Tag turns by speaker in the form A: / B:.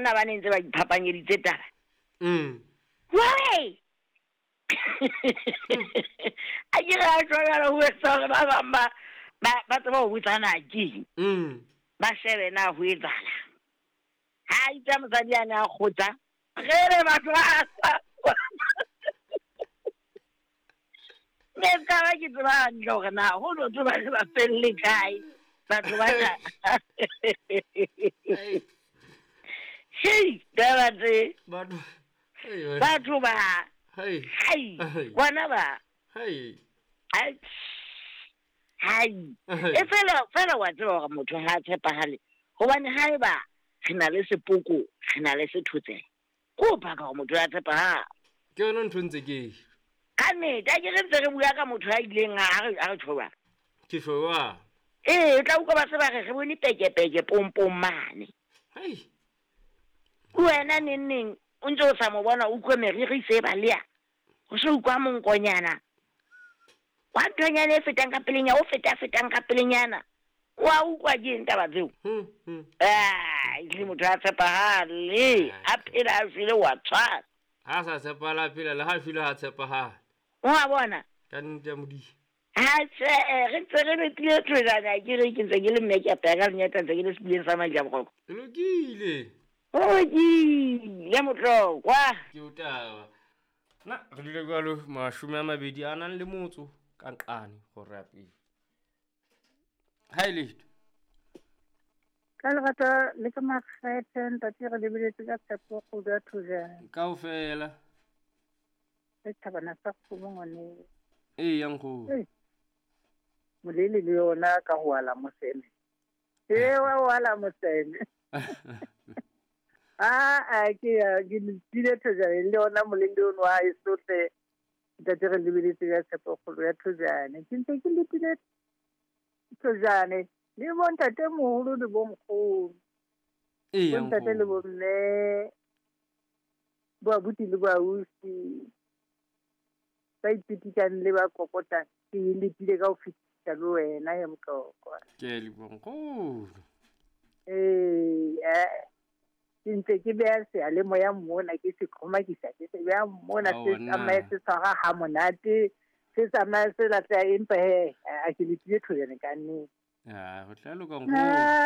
A: Banna ba ne ntse ba iphapanyeditse taba. Wai! A ke re a tshwanela ho etsa hore ba bang ba ba tseba ho botsa na keng. Ba shebe na ho etsahala. Ha itse mosadi a ne a kgotsa, re re batho ba sa. Ne ka ba ke tseba hantle hore na ho no tseba le ba felle kae batho ba na. Hei, taba tse.
B: Batho.
A: Batho ba.
B: Hei.
A: Hai. Bona ba.
B: Hei.
A: Hai. Hai. E fela fela wa tseba hore motho ha a tshepahale. Hobane haeba re na le sepoko, re na le sethotsela. Ko paka hore motho ya tshepahala.
B: Ke yona ntho ntse ke.
A: Ka nnete, a ke re ntse re bua ka motho ya ileng a re tjho jwang.
B: Ke tjho jwang?
A: Ee, o tla utlwa ba se ba re re bone pekepeke pompong mane.
B: Hei.
A: Wena neng neng o ntse o sa mo bona, o utlwe meriri se balea. O se utlwa monkonyana. Wa nthonyana e fetang ka pelenyana, o feta fetang ka pelenyana. Wa utlwa ke eng taba tseo? Ah, ehlile motho a tshepahale, a phela a shwele wa tshwana.
B: Ha sa tshepahala a phela le ha shwele ha tshepahala.
A: Wa bona?
B: Ka nnete ya Modimo.
A: Ha tjhe, re ntse re letile thojana ke re ke ntse ke le mme ke apeya ka lenyata ntse ke le sepuleng sa Maja Boroko.
B: E lokile.
A: Ho lokile motlokwa.
B: Ke o taba. Na re dule jwalo 20 a nang le motso ka nqane gore ya pele. Ha e letho.
C: Ka lerato le ka makgethe ntate re lebeletse ka tshepo kgudu ya thojana.
B: Kaofela.
C: Le thabana sa kgomo ngwane.
B: Ee, ya nkgono.
C: Molele le yona ka ho ala moseme. Ee, wa ho ala moseme. A ke ya ke letile thojana le yona molele ono wa e sohle. Ntate re lebeletse ka tshepo kgolo ya thojana. Ke ntse ke letile thojane le bontate moholo le bonkgono.
B: Ee, ya
C: Bontate le
B: nkgono.
C: bomme, bo abuti le bo ausi, ba ipitikang le ba kokotang, ke letile ka ho fetisa le wena ya Motlokwa.
B: Ke a leboha nkgono.
C: Ee, ke ntse ke beha seyalemoya mona, ke se qhomakisa, ke se beha mona, se tsamaye se tshwara ha monate, se tsamaye se lahleha, empa he, a ke letile thojana ka nnete.
B: Ah, ho tla loka nkgono.